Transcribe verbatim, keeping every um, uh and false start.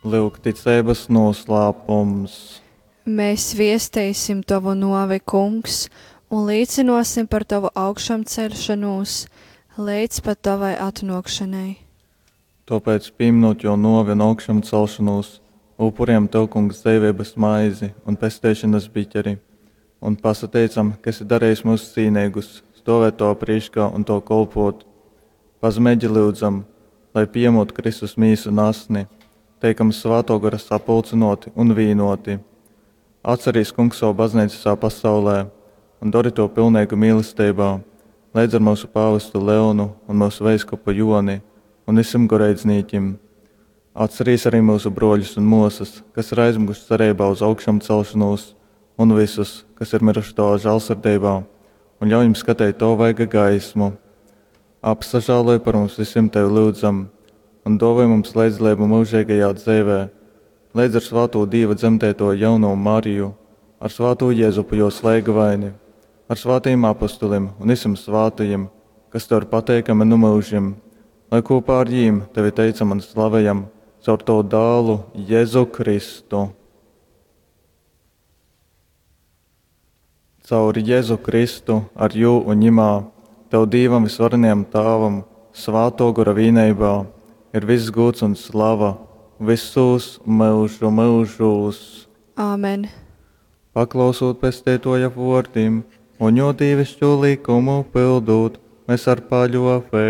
Lyuk ticeibas noslēpums. Mēs viesteisim Tavu nuovi, Kungs, un līcinosim par Tavu augšamceļšonūs leidz pat Tavai atnuokšanai. Tōpēc, pīminūt jō nōvi un augšamcelšonūs, upurējam Tev, Kungs, dzeiveibas maizi un pesteišonas biķeri, un pasateicam, ka esi darījis mūs cīneigus stovēt Tavā prīškā un Tev kolpot. Pazemeigi lyudzam, lai pījemot Kristus mīsu un asni, teikam Svātō Gora sapulcynōti un vīnōti. Atcerīs, Kungs, savu baznīcu visā pasaulē un dori to pilneigu mīlesteibā, leidz ar mūsu pāvestu Leonu un mūsu veiskupu Joni un visiem goreidznīkim. Atcerīs arī mūsu broļus un mosas, kas ir aizmiguši cerībā uz augšamcelšanos, un visus, kas ir miruši Tavā žālsirdībā, un ļauj viņiem skatīt Tavu vaiga gaismu. Apsažāloj par mums visiem Tevi lūdzam, un dāvoj mums līdzdalību mūžīgajā dzīvē, līdz ar svāto Dieva dzemdēto jauno Mariju, ar svāto Jēzupu jo slēgavaini, ar svātajiem apustulim un visiem svātajiem, kas Tev ir pateikami nu mūžiem, lai kopā ar jīm Tevi teicam un slavējam caur Tavu dālu Jēzu Kristu. Caur Jēzu Kristu, ar jū un ņimā, Tev Dīvam visvarenajam Tāvam, svāto gora vīneibā, ir viss gūds un slava visos mūžu mūžos. Āmen. Paklausot pesteitoja vōrdim un jo dīvišķo likumu pildūt, mēs ar paļōveibu